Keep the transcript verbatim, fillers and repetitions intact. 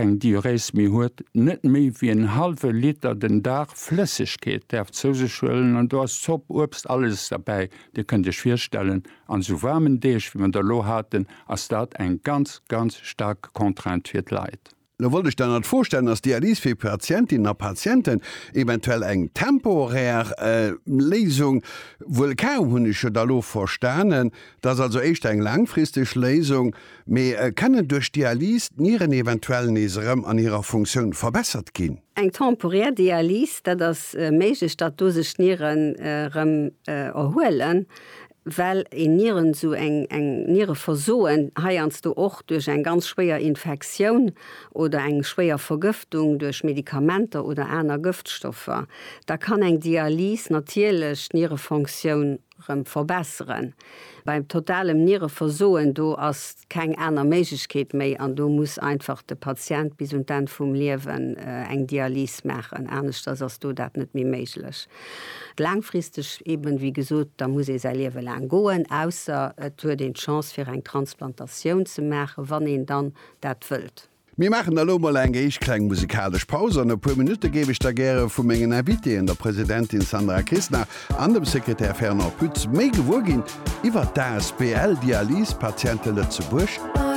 keng Diurese méi huet, net méi wéi en hallwe Liter den Dag Flëssegkeet däerf zou sech huelen an do ass Zopp, Uebst, alles derbäi. Dir kënnt Iech virstellen, an esou waarmen Deeg wéi mer der elo haten, ass dat eng ganz, ganz staark Contrainte fir d'Leit. Lo wollt ech dann nach d'Fro stellen, Ass Dialys fir Patientinnen a Patienten eventuell eng temporär Léisung? Wuel kaum, hunn ech jo da lo verstanen. Dat ass also éischter eng laangfristeg Léisung. Mee kennen duerch d'Dialys d'Nieren eventuell nees erëm an hirer Funktioun verbessert ginn? Eng temporär Dialys, dat ass méiglech, datt do sech d'Nieren erëm erhuelen. Well een Nieren, esou eng eng Niereversoen heiansdo och duerch eng ganz schwéier Infektioun oder eng schwéier Vergëftung duerch Medikamenter oder aner Gëftstoffer, da kann eng Dialys natierlech d'Nierefonctioun rëm verbesseren. Beim totalem Niereversoen, do ass keng aner Méiglechkeet méi an do muss einfach de Patient bis un d'Enn vum Liewen eng Dialys maachen, aneschters ass do dat net méi méiglech. Laangfristeg eben, wéi gesot, da muss ee säi Liewe laang goen, ausser et huet een d'Chance fir eng Transplantatioun ze maachen, wann een dann dat wëllt. Mir maachen elo mol eng éischt kleng musikalesch Paus. An e puer Minutte géif ech da gäre vu mengen Invitéen, der Presidentin Sandra Kistner an dem Sekretär Fernand Pütz, méi gewuer ginn iwwer d'A S B L Dialysepatiente Lëtzebuerg.